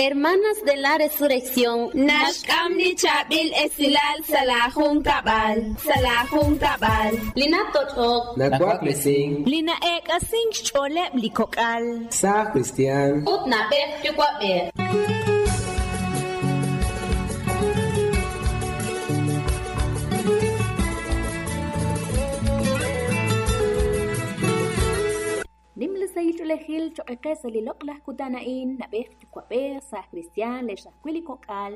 Hermanas de la Resurrección Naxk'am li chaab'il esilal sa' laajunkab'al, sa' laajunkab'al. Li natoch'ok, Nawaklesink, Li na'eek'asink xch'ooleb' li kok'al. saaj kristiaan, ut na'b'ej yuwa'b'ej. Nim li sahil ch'oolejil choq' qe sa' li loq'laj kutan a'in, na'b'ej yuwa'b'ej, saaj kristiaan, leex ajwi' li kok'al,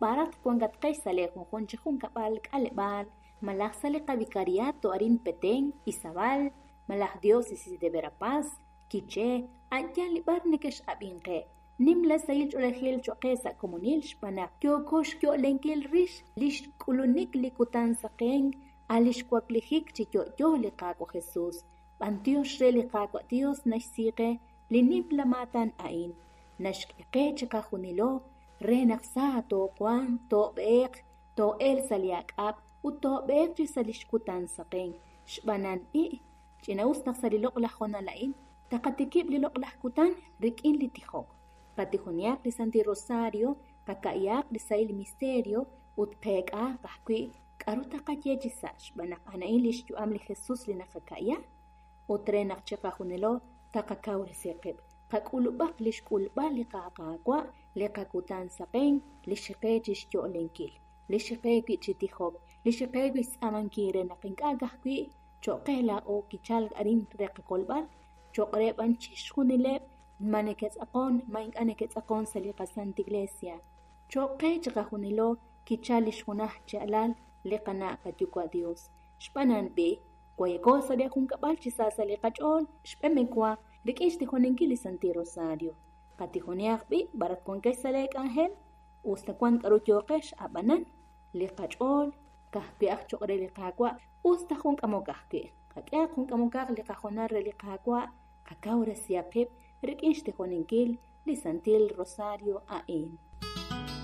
b'araq wankatqex sa' lee junjun chi junkab'al, k'aleb'aal, malaj sa' li qavicariato arin Petén, Izabal, malaj Diócesis de Verapaz, Quiché, a'yal li b'ar nekex'ab'inqe. Nim la sahil ch'oolejil choq' qe sa' komonil xb'aan naq yooko xyo'lenkil rix li xk'ulunik li kutan saqenk a' li xwaklijik chi yo'yo li Qaawa' Jesus. B'antiox re li Qaawa' Dios naxsi qe li nimla maatan a'in. Naxk'e qe chiqajunilo re naq sa toowanq, toob'eeq, too'elq sa' li ak'ab' ut toob'eeq chi sa' li xkutan saqenk. Xb'aan i', ch'ina'us naq sa' li loq'laj hoonal a'in taqatikib' li loq'laj kutan rik'in li tijok. Qatijoniaq li Santil Rosario, qaka'yaq li sahil misterio ut qeek'aaq ajwi' k'a'ru taqaye chi sa' xb'aan naq a'an li xyu'am li Jesus li naqaka'ya ut re naq chiqajunilo taqakawresi qib'. Qak'ulub'aq li xk'ulb'al li Qaawa' li qakutan saqenk li xiqe chi xyo'lenkil, li xiqe wi' chi tijok, li xiqe wi' xtz'aamankil re naq ink'a' ka'ajwi' choq' qe laa'o kichalk arin re qakolb'al, choq' re b'an chixjunileb' ma neke'tz'aqon, ma ink'a' neke'tz'aqon sa' li qaSanta Iglesia. Choq' qe chiqajunilo kichal li xjunaj chi alal li qana' qayuwa' Dios. Xb'aan a'an b'i', wayako sa' li junkab'al chi sa sa' li qach'ool, xb'emewa rik'in xtijoninkil li Santil Rosario. Qatijoniaq b'i' b'arat wankex sa' lee k'anjel, us ta wan k'a'ru yooqex ab'anan li qach'ool ka'ajwi' aj choq' re li Qaawa' us ta jun k'amok ajwi'. Qak'ehaq jun k'amokaq li qajonal re li Qaawa', qakawresihaq qib' rik'in xtijoninkil li Santil Rosario a'in.